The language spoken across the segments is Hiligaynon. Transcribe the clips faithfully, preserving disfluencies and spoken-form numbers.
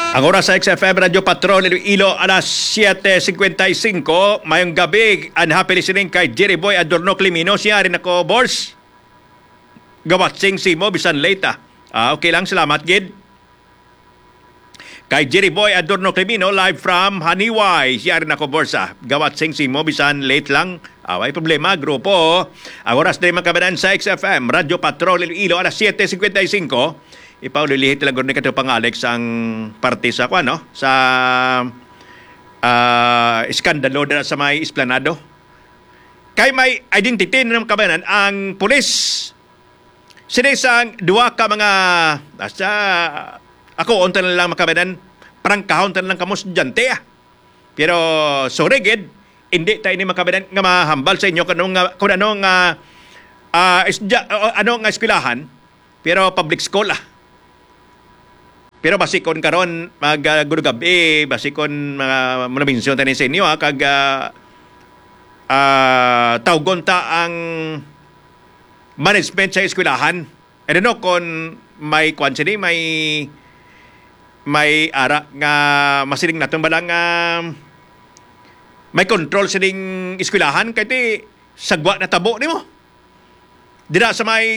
Ang oras sa X F M Radyo Patrol Iloilo, alas siete cincuenta y cinco. Mayong gabi and happy listening kay Jerry Boy Adorno Climino. Siya rin ako, Bors. Gawatsing simo, bisan late, ah. Ah, okay lang, salamat gid. Kay Jerry Boy Adorno Climino, live from Haniway. Siya rin ako, Bors, ah. Gawatsing simo, bisan late lang. Ah, way problema, grupo. Ang oras diri, mga kabanan, sa X F M Radyo Patrol Iloilo, alas siete cincuenta y cinco. Ipaulilihit lang gud ni kato pang Alex ang parte sa, kuwan, no? Sa, ah, iskandalo dira sa may esplanado. Kay may identity na, mga kabanan, ang pulis. Sini sang duha ka mga, asa, ako, unta na lang, mga kabanan, prangkahon ta na lang kamo, estudyante, ah. Pero, sorry gid, hindi ta ini, mga kabanan, nga mahambal sa inyo kung ano nga, kung ano nga, ah, isda-, o ano nga eskwelahan, pero public school, ah. Pero basi kon karon, mag, ah, gudugab-i, basi kon mga, mga mention tani sa inyo, ha, kag, ah, ah, tawgon ta ang management sa eskwelahan. I don't know kon may kwan sini, may, may ara nga masiling naton ba lang nga may control sining eskwelahan, kay ti sagwa na tabo nimo. Dira sa may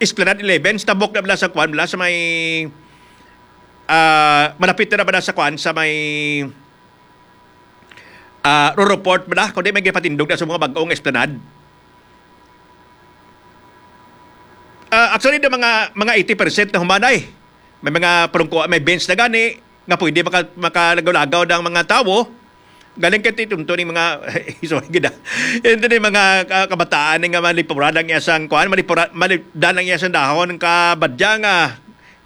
Esplanade eleven, sa tabok na bala sa kwan, bala sa may, ah, malapit na bala sa kwan, sa may, ah, Roro Port bala, kundi may gipatindog na sa mga bag-ong Esplanade. Ah, actually, the mga, mga eighty percent na humanay. May mga palungkuan, may bench na gani, nga pwede maka-, makalagaw-lagaw ng mga tawo. Galing kay titunto ni mga, sorry, gid, ah. Ito ni mga ka-, kabataan ni nga malipura lang iya sang kuan, malipura, malip-, daan lang iya sang dahon, ang kabadya nga,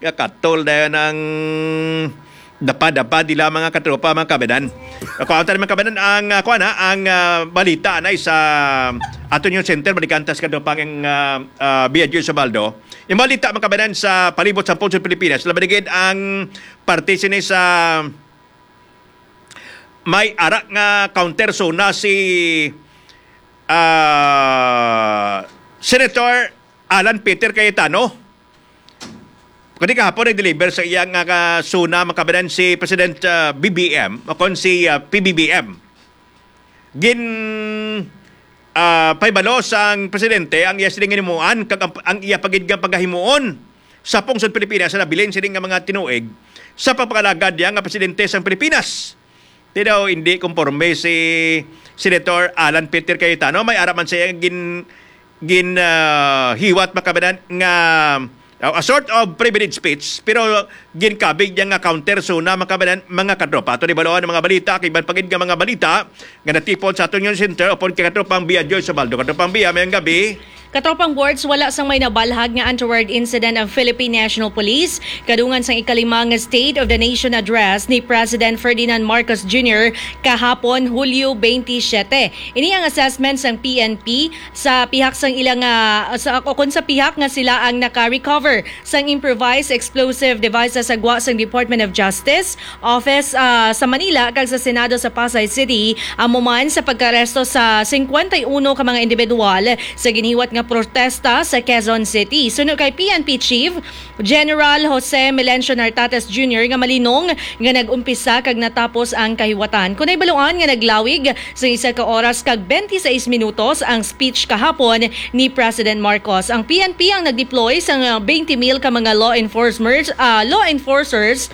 nga katol dayon ang dapa-dapa nila, mga katropa, mga kabanan. Ako, ang mga kabanan, ang, ah, kuan, ha, ang, ah, balita na sa aton yung center, balikan ta sa katropang, ah, ah, Biagyo Sabaldo. Yung balita, mga kabanan, sa palibot sa Pulso Pilipinas, labi na gid ang parte sini sa may ara nga counter zona si, ah, Senator Alan Peter Cayetano. Kani kahapon nag-deliver sa iyang, ah, ka-, zona, mga kabanan, si President, ah, B B M, o kon si, ah, P B B M. Gin, ah, pahibalo sang presidente ang iya sining himuan kag ang, ang iya pa gid nga pagahimuon sa pungsod Pilipinas sa nabilin sining nga mga tinuig sa pagpangalagad niya nga presidente sang Pilipinas. Ti daw hindi konforme si Senator Alan Peter Cayetano. May ara man siya gin-, gin, ah, hiwat, mga kabanan, nga, ah, a sort of privilege speech, pero ginkabig niya nga counter zona, mga kabanan, mga katropa. Ato ni baloan ang mga balita, kay iban pa gid nga mga balita nga natipon sa aton yung center, upon kay katropang Bia Joy Sabaldo. Katropang Bia, mayong gabi. Katropang Boards, wala sang may nabalhag nga untoward incident ang Philippine National Police kadungan sang ikalima nga State of the Nation Address ni President Ferdinand Marcos Junior kahapon, Hulyo twenty-seven. Ini ang assessment sang P N P sa pihak sang ilang, ah, sa, o kon sa pihak nga sila ang naka-recover sang improvised explosive devices sa gwa sang Department of Justice Office, ah, sa Manila kag sa Senado sa Pasay City, amo man sa pagkaaresto sa cincuenta y uno ka mga individual sa ginhiwat nga protesta sa Quezon City. Suno kay P N P Chief General Jose Melencio Nartates Junior nga malinong nga nag-umpisa kag natapos ang kahiwatan. Kon nahibaluan nga naglawig sa isa ka oras kag twenty-six minutos ang speech kahapon ni President Marcos. Ang P N P ang nag-deploy sa twenty mil ka mga law enforcers, ah, law enforcers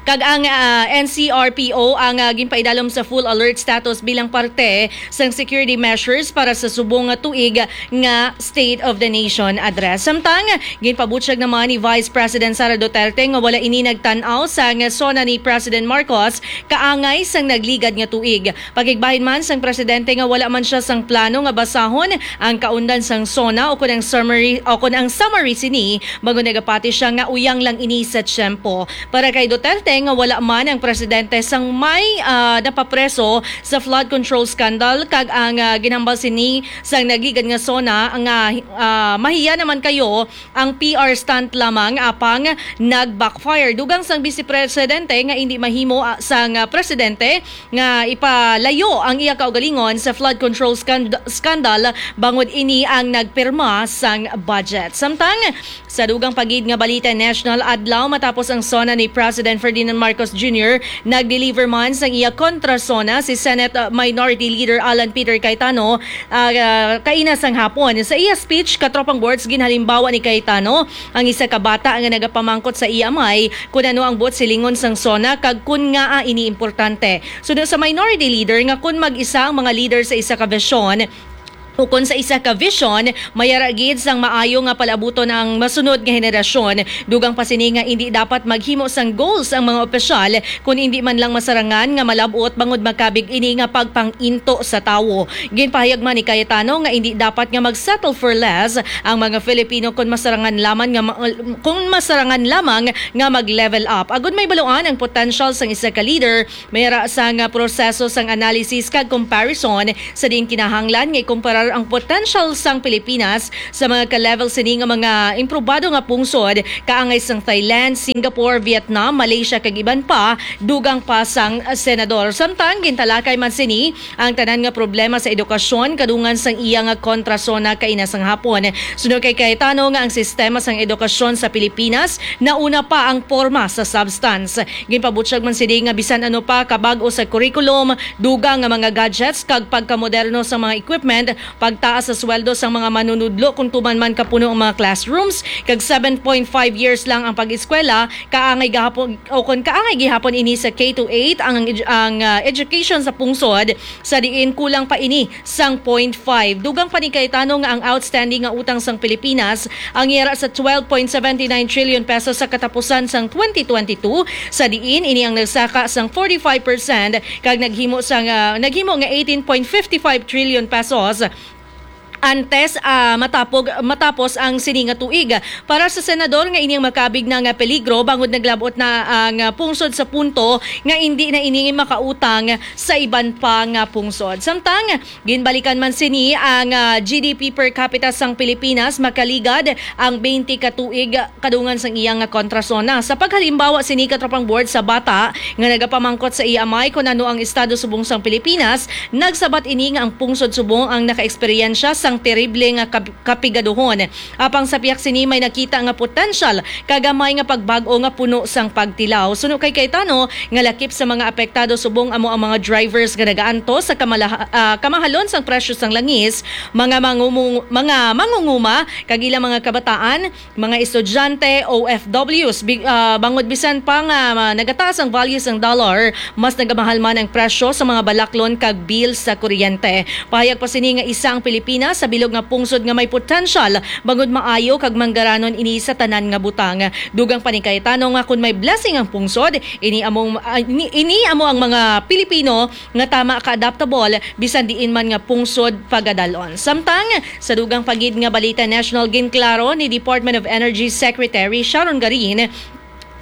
kag ang, ah, N C R P O ang, ah, ginpaidalom sa full alert status bilang parte sang security measures para sa subong nga tuig nga State of the Nation Address. Samtang, ginpabutyag naman ni Vice President Sara Duterte nga wala ini nagtan-aw sang zona ni President Marcos kaangay sang nagligad nga tuig. Pakigbahin man sang presidente nga wala man siya sang plano nga basahon ang kaundan sang zona o kon ang summary, o kon ang summary sini, bag-o nagapati siya nga uyang lang ini sa tiyempo. Para kay Duterte, nga wala man ang presidente sang may, ah, napapreso sa flood control scandal, kag ang, ah, ginhambal sini sang nagligad nga SONA nga, ah, mahiya naman kayo ang P R stunt lamang, apang nag-backfire. Dugang sang Vice Presidente nga indi mahimo, ah, sang, ah, presidente nga ipalayo ang iya kaugalingon sa flood control scand-, scandal bangod ini ang nagpirma sang budget. Samtang sa dugang pa gid nga balita, national adlaw, matapos ang SONA ni President Ferdinand Marcos Junior, nag-deliver man sang iya kontra SONA si Senate, uh, Minority Leader Alan Peter Cayetano, uh, kaina sang hapon. Sa iya speech, katropang boards, ginhalimbawa ni Cayetano ang isa ka bata nga nagapamangkot sa iya amay kun ano ang buot silingon sang SONA kag kun ngaa ini importante. Suno sa Minority Leader nga kun mag-isa ang mga leader sa isa ka vision, ukon sa isa ka vision, mayara gid sang maayo nga palabuton ang masunod nga henerasyon. Dugang pa sini nga indi dapat maghimo sang goals ang mga opisyal, kun indi man lang masarangan nga malab-ot bangod makabig ini nga pagpang-into sa tawo. Ginpahayag man ni Cayetano nga indi dapat nga mag-settle for less ang mga Filipino, kun masarangan lamang nga ma-, kun masarangan lamang nga mag-level up. Agud may baluan ang potential sang isa ka leader, mayara sang proseso sang analysis kag comparison, sa diin kinahanglan nga ikumparar ang potential sang Pilipinas sa mga ka-level sini nga mga improbado nga pungsod, kaangay sang Thailand, Singapore, Vietnam, Malaysia, kag iban pa, dugang pa sang senador. Samtang gintalakay man sini ang tanan nga problema sa edukasyon, kadungan sang iya nga kontra SONA kaina sang hapon. Suno kay Cayetano nga ang sistema sang edukasyon sa Pilipinas nauna pa ang porma sa substance. Ginpabutyag man sini nga bisan ano pa kabag-o sa curriculum, dugang nga mga gadgets kag pagkamoderno sa mga equipment, pagtaas sa sweldo sang mga manunudlo kung tuman man kapuno ang mga classrooms, kag seven point five years lang ang pag-eskwela, kaangay gahapon, o kon kaangay gihapon ini sa K to eight ang, ang, ah, education sa pungsod, sa diin kulang pa ini sang point five. Dugang pa ni Cayetano nga ang outstanding nga utang sang Pilipinas ang yara sa twelve point seventy nine trillion pesos sa katapusan sang twenty twenty-two, sa diin ini ang nagsaka sang forty-five percent kag naghimo sang, ah, naghimo nga eighteen point fifty-five trillion pesos antes, ah, matapog, matapos ang sini nga tuig. Para sa senador nga ini ang makabig na nga peligro, bangod naglabot na ang, ah, pungsod sa punto nga indi na ini makautang sa iban pa nga pungsod. Samtang ginbalikan man sini ang, ah, G D P per capita sang Pilipinas, makaligad ang twenty ka tuig kadungan sang iya nga kontra SONA. Sa paghalimbawa sini, katropang board, sa bata nga nagapamangkot sa iya amay kon ano ang estado subong sang Pilipinas, nagsabat ini nga ang pungsod subong ang nakaeksperyensya sang terrible nga kab-, kapigaduhon. Apang sa pihak sini, may nakita nga potensyal kagamay nga pagbag-o nga puno sang pagtilaw. Suno kay Cayetano, nga lakip sa mga apektado subong amo ang mga drivers nga nagaantos sa kamalaha-, ah, kamahalon sang presyo sang langis, mga mangumu-, mga mangunguma, kag ilang mga kabataan, mga estudyante, O F Ws, bi-, ah, bangod bisan pa nga, ah, nagataas ang value sang dollar, mas nagamahal man ang presyo sa mga balaklon kag bill sa kuryente. Pahayag pa sini nga isa ang Pilipinas sa bilog nga pungsod nga may potensyal bangod maayo kag manggaranon ini sa tanan nga butang. Dugang pa ni Cayetano nga kun may blessing ang pungsod, ini among, ah, ini, ini amo ang mga Pilipino nga tama ka-adaptable bisan diin man nga pungsod pagadalon. Samtang sa dugang pa gid nga balita national, ginklaro ni Department of Energy Secretary Sharon Garin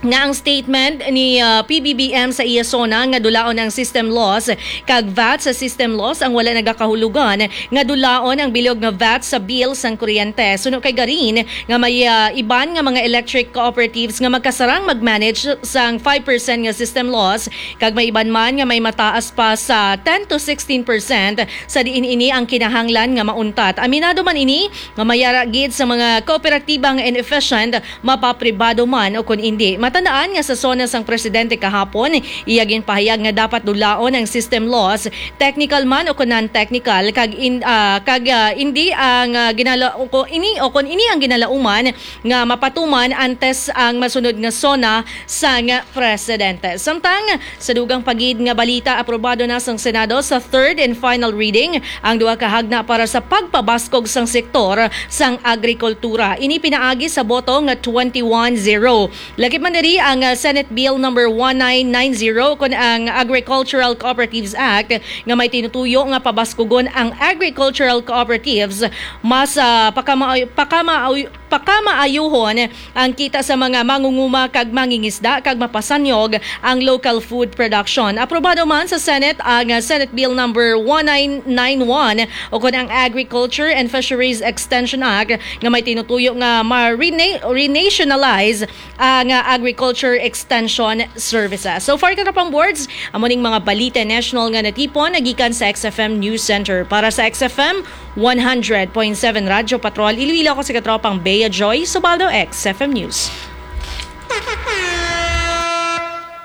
nga ang statement ni, ah, P B B M sa iya SONA nga dulaon ang system loss kag vat sa system loss ang wala nagakahulugan nga dulaon ang bilog nga vat sa bill sang kuryente. Suno kay Garin nga may, ah, iban nga mga electric cooperatives nga magkasarang mag-manage sang five percent nga system loss, kag may iban man nga may mataas pa sa ten to sixteen percent, sa diin ini ang kinahanglan nga mauntat. Aminado man ini nga mayara gid sa mga kooperatiba nga inefficient, mapapribado man o kon indi. Matandaan nga sa SONA sang presidente kahapon, iya ginpahayag nga dapat dulaon ang system loss, technical man o kon non-technical, kag in-, ah, kag, ah, indi ang, ah, ginala-, o ko-, ini o kon ini ang ginalauman nga mapatuman antes ang masunod nga SONA sang presidente. Samtang sa dugang pa gid nga balita, aprobado na sang Senado sa third and final reading ang duha ka hagna para sa pagpabaskog sang sektor sang agrikultura. Ini pinaagi sa boto nga twenty-one zero. Lakip man diri ang, ah, Senate Bill number one nine nine zero, kon ang Agricultural Cooperatives Act, nga may tinutuyo nga pabaskugon ang agricultural cooperatives, mas, ah, pakama-, pakama-, pakamaayuhon ang kita sa mga mangunguma kag mangingisda kag mapasanyog ang local food production. Aprobado man sa Senate ang, ah, Senate Bill number one nine nine one, o kon ang Agriculture and Fisheries Extension Act, nga may tinutuyo nga ma-rena-, renationalize ang, ah, agriculture extension services. So far, katropang boards, amo ning mga balita national nga natipon nagikan sa X F M News Center. Para sa X F M one hundred point seven Radyo Patrol Iloilo, ako si katropang Bea Joy Subaldo, X F M News.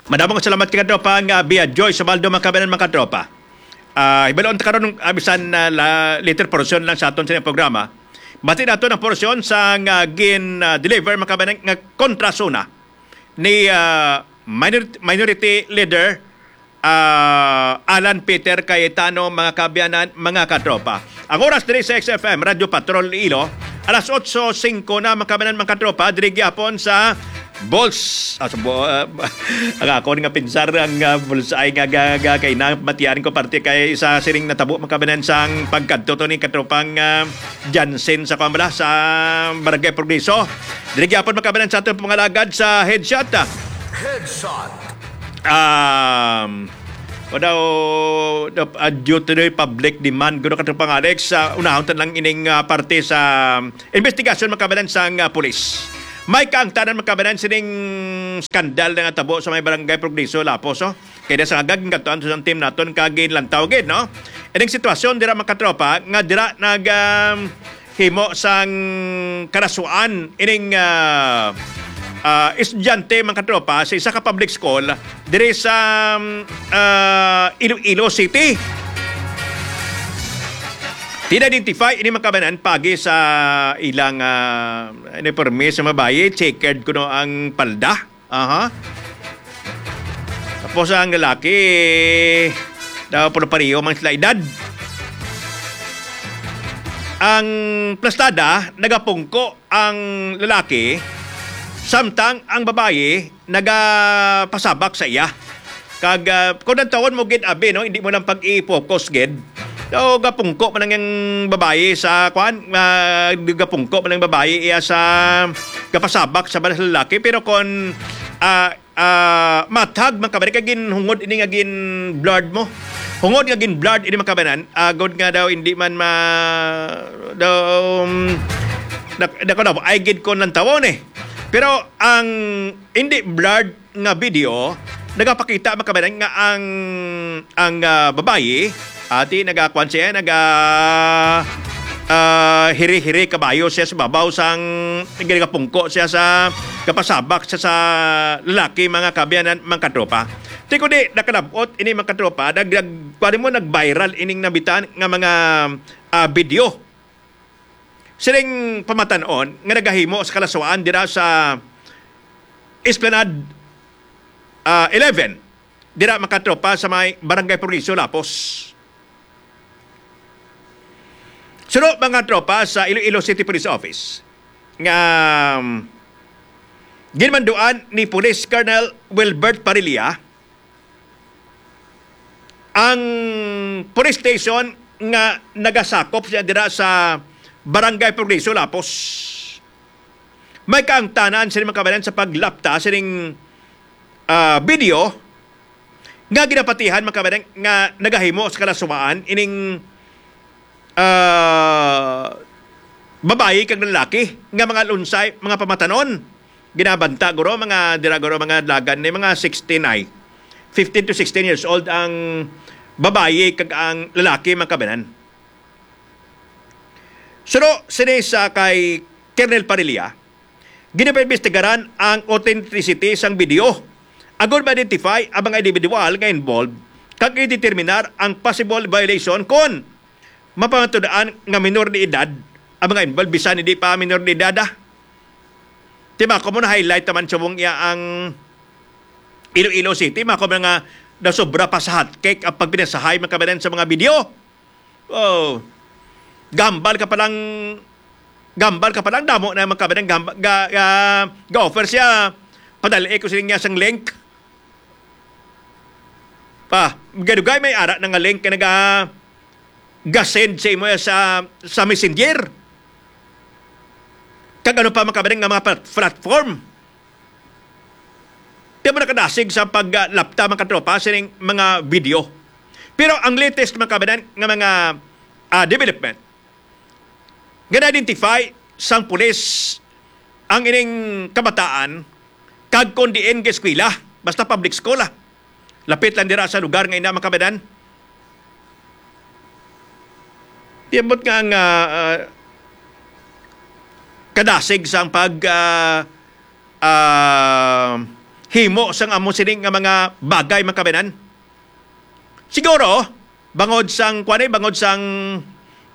Madamo nga salamat, katropang, ah, Bea Joy Subaldo, mga kabayan, mga katropa. Ah, hibaluan ta karon, ah, bisan, ah, la-, later portion lang sa aton sa programa. Bati nato ang portion sa nga gin, ah, deliver, mga kabayan, nga kontra suna ni, ah, minor-, Minority Leader, ah, Alan Peter Cayetano, mga kaabyanan, mga katropa. Ang oras diri sa X F M Radyo Patrol Iloilo, alas otso singko na, mga kaabyanan, mga katropa, diri gyapon sa Bulls. Ah, sa bu-, ah, ang ako nga pinsar ang, ah, Bullseye nga ga-, ga-, kay namatian ko parte kay sa siring natabo, mga kaabyanan, sang pagkadto to ni katropang, ah, Jansen sa, kuwan bala, sa Barangay Progreso. Diri gyapon, mga kaabyanan, sa aton pangalagad sa headshot, ah. Headshot. Um, o daw, daw, ah, due to the public demand, guro, katropang Alex, sa unahon ta lang ining, ah, parte sa investigasyon, mga kaabyanan, sang, ah, pulis. May kaangtanan, mga kaabyanan, sining skandal na nga tabo sa may Barangay Progreso, Lapos, oh. Kaya sa agag, gingadtuan to sang team naton, kag ginlantaw gid, no? Ining sitwasyon dira, mga katropa, nga dira nag, um, himo sang karasuan ining, ah, ah, estudyante, mga katropa, sa isa ka public school diri sa, um, ah, Iloilo City. Gin-identify ini, mga kaabyanan, paagi sa ilang, ah, uniforme sa babayi, checkered kuno ang palda. Aha. Tapos ang lalaki, daw puro pareho man sila edad. Ang plastada, nagapungko ang lalaki, samtang ang babayi nagapasabak sa iya. Kag, ah, kung nantawon mo gid, abi, no, hindi mo lang pag-i-focus gid. So, gapungko man ang babayi sa, kwan, ah, gapungko man ang babayi iya sa gapasabak sa lalaki. Pero kung, ah, ah, mathag, mga kabayan, kay ginhungod ini nga gin-blurred mo. Hungod nga gin-blurred ini, mga kabayan, agod nga daw hindi man ma-, daw, um, dak-, dako daw, ay gid ko nantawon eh. Pero ang hindi blurred nga video, nagapakita, mga kabayan, nga ang, ang, ah, babayi, ati, nagakuan siya, naga, ah, hiri-hiri kabayo siya sa babaw sang, nagapungko siya sa, gapasabak siya sa lalaki, mga kaabyanan, mga katropa. Ti kundi, nakalabot ini, mga katropa, nag-, nag-, kuwan mo, nag-viral ining nabitan nga mga, ah, video. Sining pamatan-on nga nagahimo sa kalaswaan dira sa Esplanade, ah, eleven, dira, mga katropa, sa may Barangay Progreso, Lapos. Suno, mga tropa, sa Iloilo City Police Office nga, um, ginmanduan ni Police Colonel Wilbert Parilla ang police station nga nagasakop siya dira sa Barangay Progreso, Lapos. May kaangtanan sini, mga kabayan, sa paglapta sining, ah, video nga ginapatihan, mga kabayan, nga nagahimo sa kalaswaan ining, ah, babayi kag lalaki nga mga lunsay, mga pamatanon. Ginabanta, guro, mga dira, guro, mga dalagan ni mga sixteen ay. Fifteen to sixteen years old ang babayi kag ang lalaki, mga kabayan. Suno sini sa kay Colonel Parilla, ginapaimbestigaran ang authenticity sang video agod ma-identify ang mga individual nga involved kag i-determinar ang possible violation kon mapamatud-an nga minor de edad ang mga involved, bisan hindi pa minor de edad, ah. Ti mako mo na-highlight naman subong iya ang Iloilo City, mako mo nga nasobra pa sa hotcake ang pagpinasahay, mga kabayan, sa mga video. Oh. Gambal ka palang, gambal ka palang damo na, mga kabayan, gamba-, ga-, ga-, ga-offer siya. Padali ko sa niya sang link. Pa, gadugay may ara na nga link nga naga-, ga-send sa imo sa, sa Messenger. kag ano pa, mga kababayan, nga mga plat-, platform. Di ba nakadasig sa paglapta, mga katropa, sining mga video. Pero ang latest, mga kababayan, nga mga, ah, development, nga na-identify sang pulis ang ining kabataan, kag kon diin nga eskwela, basta public school, ah. Lapit lang dira sa lugar nga ina, mga kababayan. Di ambot nga ang, ah, ah, kadasig sang pag, ah, ah, himo sang amo sini nga mga bagay, mga kababayan. Siguro, bangod sang, kuwan eh, bangod sang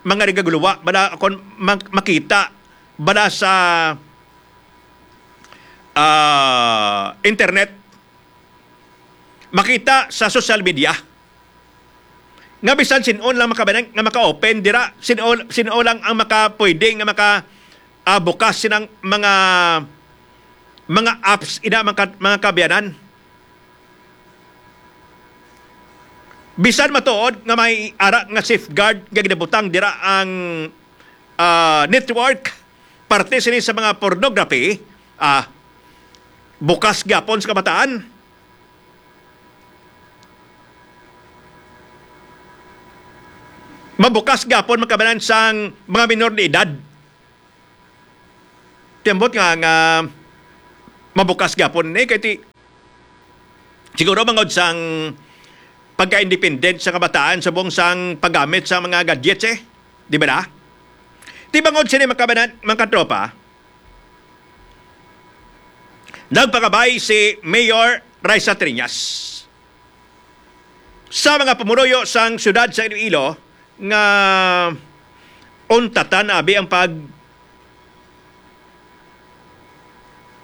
mga nagaguluwa, bala, kon ma-, makita, bala sa, ah, internet, makita sa social media, nga bisan sin-o lang makabanang, nga maka-open dira, sin-o, sin-o lang ang maka-, pwede nga maka, ah, bukas sining mga, mga apps ina, mga ka-, mga kaabyanan. Bisan matuod nga may ara nga safeguard nga ginabutang dira ang, ah, network, parte sini sa mga pornography, ah, bukas gyapon sa kabataan. Mabukas gyapon, mga kababayan, sang mga minor de edad. Ti ambot nga, nga mabukas gyapon ni, kay ti, siguro bangod sang pagka-independent sa kabataan subong sang paggamit sa mga gadgets, eh. Di ba na? Ti bangod sini, mga kababayan, mga katropa, nagpakabay si Mayor Raisa Triñas sa mga pumuluyo sang siyudad sa Iloilo nga untatan abi ang pag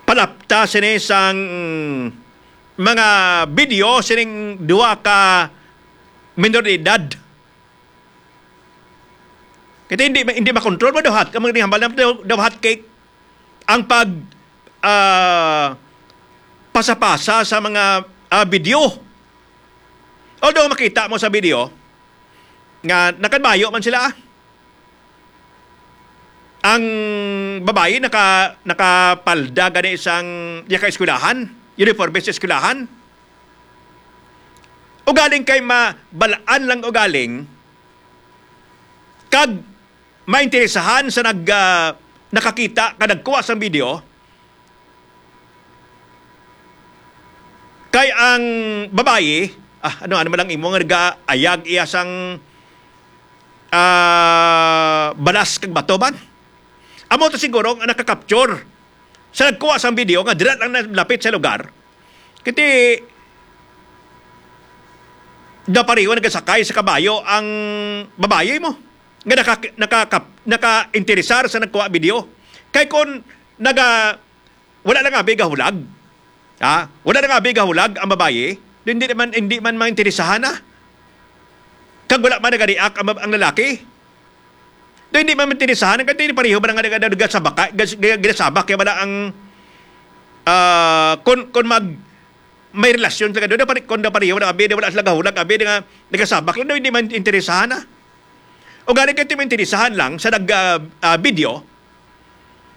palapta sini sang mga video sining duha ka minor de edad. Kaya hindi, hindi makontrol mo daw hat, kamang hambal na daw, daw hot cake ang pag, ah, pasa-pasa sa mga, ah, video. Although makita mo sa video nga nakabayo man sila, ah. Ang babayi naka-, nakapalda gani sang iya ka eskwelahan, uniforme sa eskwelahan. Ugaling kay mabalaan lang ugaling, kag mainteresahan sa nag-, ah, nakakita ka nagkuha sang video, kay ang babayi, ah, ano, ano man lang imo nga nag-aayag iya sang, ah, balas kag bato man? Amo to siguro nga nakakapture sa nagkuha sang video nga dira lang nalapit sa lugar. Kiti, daw pareho nagasakay sa kabayo ang babayi mo nga naka-, naka-, naka-interesar sa nagkuha video. Kay kon naga-, wala lang abi gahulag. Ha? Wala lang abi gahulag ang babayi. Hindi naman, hindi man mainteresahan na. Kag wala man nagariak ang, ang lalaki. Do hindi man mainteresahan, kay hindi pareho ba nga naga-, nagasabak, gas-, gas-, ginasabak kaya wala ang, ah, kon, kon mag-, may relasyon sila, do, do, pare-, kon do pareho na abi, do, wala sila gahulag, abi, do nga nagasabak lang, do hindi man interesahan, ah. O gani kay ti mainteresahan lang sa nag, ah, ah, video,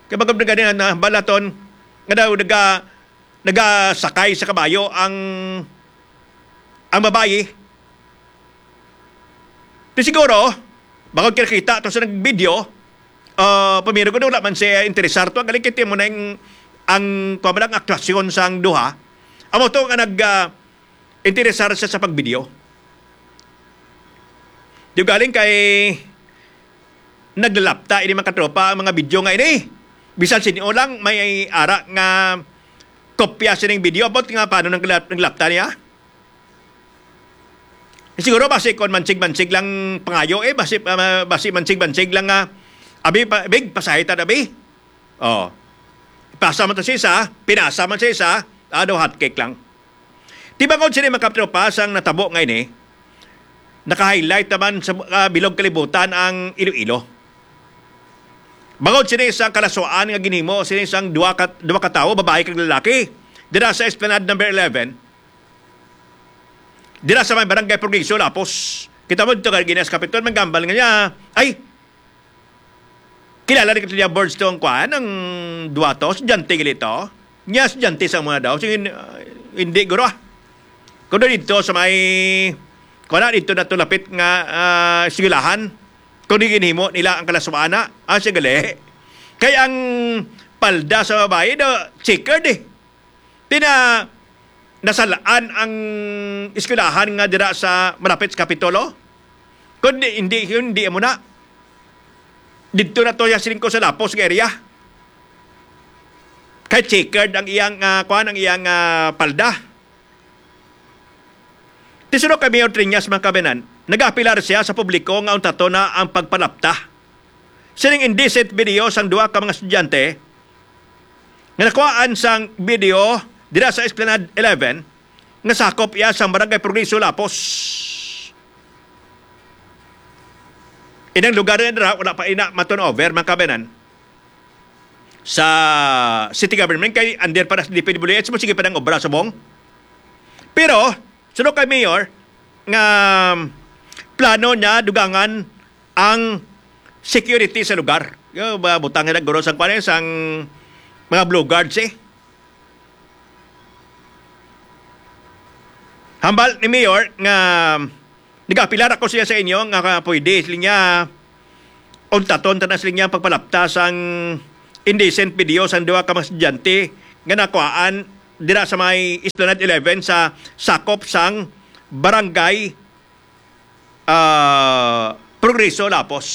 kay baga gani na balaton nga daw naga-, nagasakay sa kabayo ang, ang babayi. Di siguro, bangod kinakita to sa nag-video, ah, pamiro ko wala man siya interesar to. Ang galing kiti mo na yung, ang, kuwan man lang, aktwasyon sang duha. Amo to nga nag, ah, interesar siya sa pag-video. Di galing kay naglalapta ini, mga katropa, ang mga video nga ini. Bisan sino lang may ara nga kopya sining video. About nga paano nang nagla-, naglapta niya? Siguro basi kon mansig-mansig lang pangayo, eh, basi, ah, basi mansig-mansig lang nga, "Abi, pa, big, pasahi ta, abi." Oh. Pasa man to sa isa, pinasa man sa isa, ah, daw hot cake lang. Ti bangod sini, mga katropa, sang natabo nga ini, naka-highlight naman sa, ah, bilog kalibutan ang Iloilo. Bangod sini sang kalaswaan nga ginhimo sini sang duha ka, duha ka tawo, babayi kag lalaki, dira sa Esplanade number eleven, dira sa may Barangay Progreso, Lapos. Kita mo dito, Cardenas Capitol, may gambal nga niya, ay, Kilala ni Katya Birds to ang kuan, ang duwa to, estudyante gali to. Niya estudyante sa mga daw. Sige, ah, hindi, guro, ah. Kuno dito sa may, kuan na, dito na to lapit nga, ah, eskwelahan. Kung di ginhimo nila ang kalaswaan na, ah, siya gali. Kay ang palda sa babae, do, checkered eh. Di na nasalaan ang eskwelahan nga dira sa malapit sa Kapitolo? Kundi hindi, hindi mo na. Didto na to siya siling ko sa Lapos nga area. Kay checkered ang iyang, ah, kuan, ang iyang, ah, palda. Ti suno kay Mayor Treñas, mga kabanan, nagapilar siya sa publiko nga untaton na ang pagpalapta sining indecent video sang duha ka mga estudyante nga nakuhaan sang video dira sa Esplanade eleven nga sakop iya sang Barangay Progreso, Lapos. Inang lugar na dira, wala pa ina ma-turnover, mga kabanan, sa city government kay under pa na sa D P W H mo, sige pa nang obra subong. Pero suno kay Mayor nga plano niya dugangan ang security sa lugar. Yo, ba, butang nila guro sang kuan, eh, sang mga blue guards, eh. Hambal ni Mayor nga nagapilar ako siya sa inyo nga pwede sila niya untaton ta na sila niya pagpalapta sang indecent video sang duha ka mga estudyante nga nakuhaan dira sa may Esplanade eleven sa sakop sang barangay, ah, Progreso, Lapos.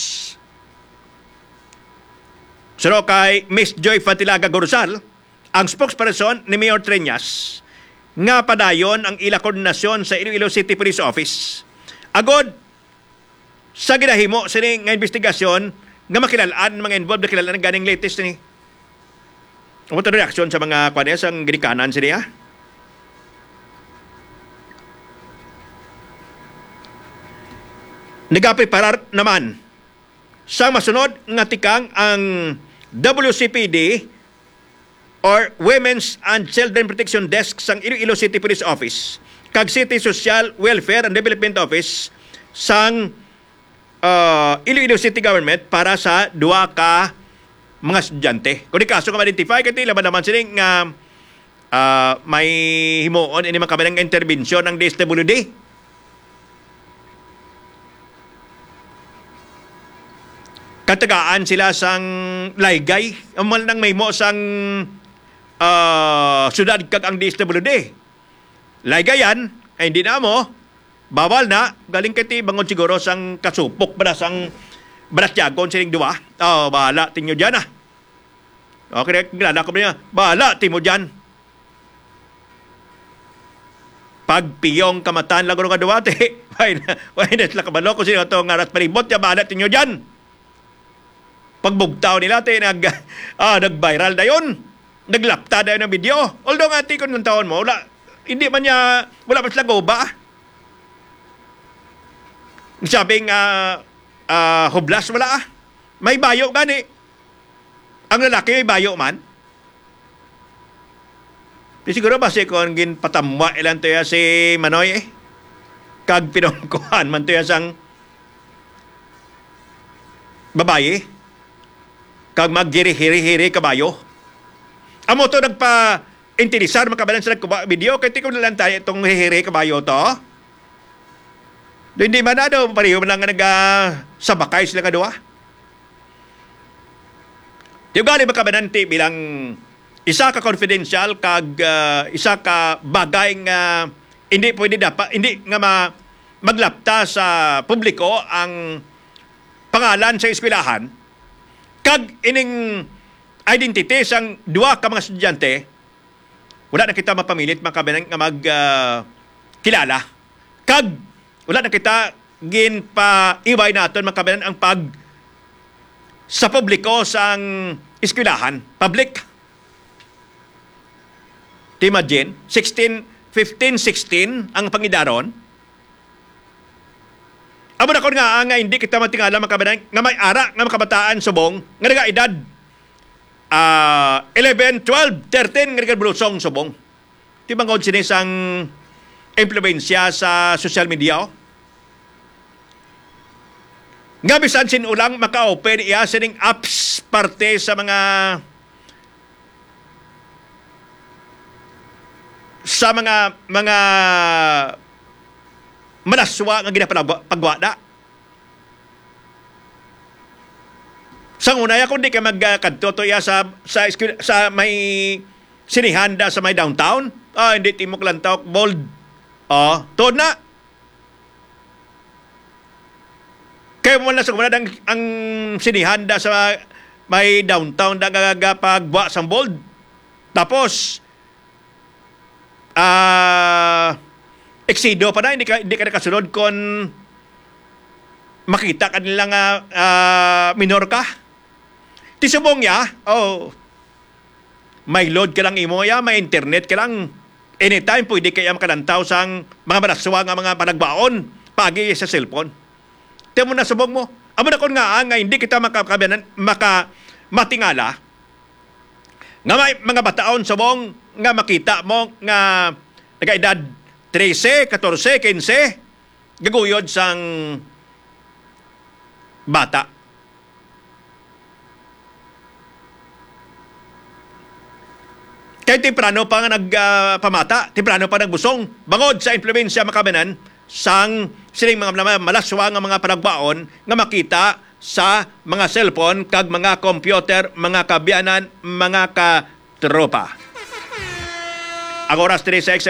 Suno kay Miss Joy Fatilaga Gorosal, ang spokesperson ni Mayor Treñas, nga padayon ang ila koordinasyon sa Iloilo City Police Office agod sa ginahimo sini nga investigasyon nga makilalaan mga involved, nakilalaan ganing latest ni. Amo to reaksyon sa mga kuan, eh, sang ginikanan sini, ah. Nagapreparar naman sa masunod nga tikang ang W C P D or Women's and Children Protection Desk sang Iloilo City Police Office kag City Social Welfare and Development Office sang, ah, Iloilo City Government para sa duha ka mga estudyante. Kung di kaso nga ma-identify, kay laban naman sini nga, ah, may himuon ini mga kabanan nga interbensyon ang D S W D. Katagaan sila sang laygay. Ang mahal nang mahimo sang, ah, syudad kag ang D S W D. Laygayan, ay hindi na mo. Bawal na. Galing kay ti bangod siguro sang kasupok ba na sang balatyagon sining duwa. Oh, bahala tinyo dyan, ah. Okay, kilala ko ba niya? Bahala ti mo dyan. Pagpiyong kamatan lang nga duwa, ti. Why na, why na sila kabalo kung sino to nga rat palibot niya, bahala tinyo dyan. Pagbugtaw nila, ti, nag, ah, nag-viral dayon. Naglapta dayon ang video. Although nga, ti, kung lantawon mo, wala, hindi man niya, wala pa sila guba. Sabing, ah, ah, hublas, wala, ah. May bayo gani. Ang lalaki may bayo man. Di siguro basi kon ginpatamwa ilan to ya si Manoy, eh. Kag pinungkuhan man to ya sang babayi. Kag maghiri-hiri-hiri kabayo. Amo to nagpa-interesar, mga kabalan, sa nagkuha video. Kay ti ko na lang tayo itong hihiri kabayo to. Do, hindi man, ano, pareho man lang nga naga-, sabakay sila nga duha. Di ugali makabananti bilang isa ka confidential kag, ah, isa ka bagay nga hindi pwede dapat, hindi nga ma-, maglapta sa publiko ang pangalan sa eskwelahan kag ining identity sang duha ka mga estudyante. Wala na kita mapamilit, mga kabanan, nga mag, ah, kilala. Kag wala na kita ginpaiway naton, mga kabanan, ang pag sa publiko sang eskwelahan. Public. Ti imagine, sixteen, fifteen, sixteen ang pangidaron. Amo na kon nga, nga hindi kita matingala, mga kabanan, nga may ara nga makabataan subong nga nagaedad, ah, eleven, twelve, thirteen nga nagabulusong subong. Ti bangod sini sang impluwensya sa social media, oh. nga bisan sin-o lang maka-open iya sining apps parte sa mga, sa mga, mga malaswa nga ginapagwa na. Sa una, ya, kung di ka magkadto to iya sa, sa, eskwel- sa may sinihan da sa may downtown, ah, hindi timo kalantaw, bold. Oh, tuod na. Kaya mo lang sa kumuna ang, ang sinihan da sa may downtown da gagapagwa sang bold. Tapos, ah, eksido pa na, hindi ka, hindi ka nakasunod kung makita ka nila nga, ah, minor ka. Ti subong ya, oh, may load ka lang imo ya, may internet ka lang. Anytime, pwede kaya makalantaw sang mga malaswa nga mga panagbaon, pagi sa cellphone. Ti mo na subong mo. Amo na kon nga, ah, nga hindi kita maka-, maka-, matingala, nga may mga bataon subong nga makita mo nga nagkaedad trese, katorse, kinse, gaguyod sang bata. Kay temprano pa nga nag, ah, pamata, temprano pa nagbusong, bangod sa impluwensya makabanan sang sining mga, mga malaswa nga mga panagbaon nga makita sa mga cellphone kag mga computer, mga kaabyanan, mga katropa. Ang oras diri sa X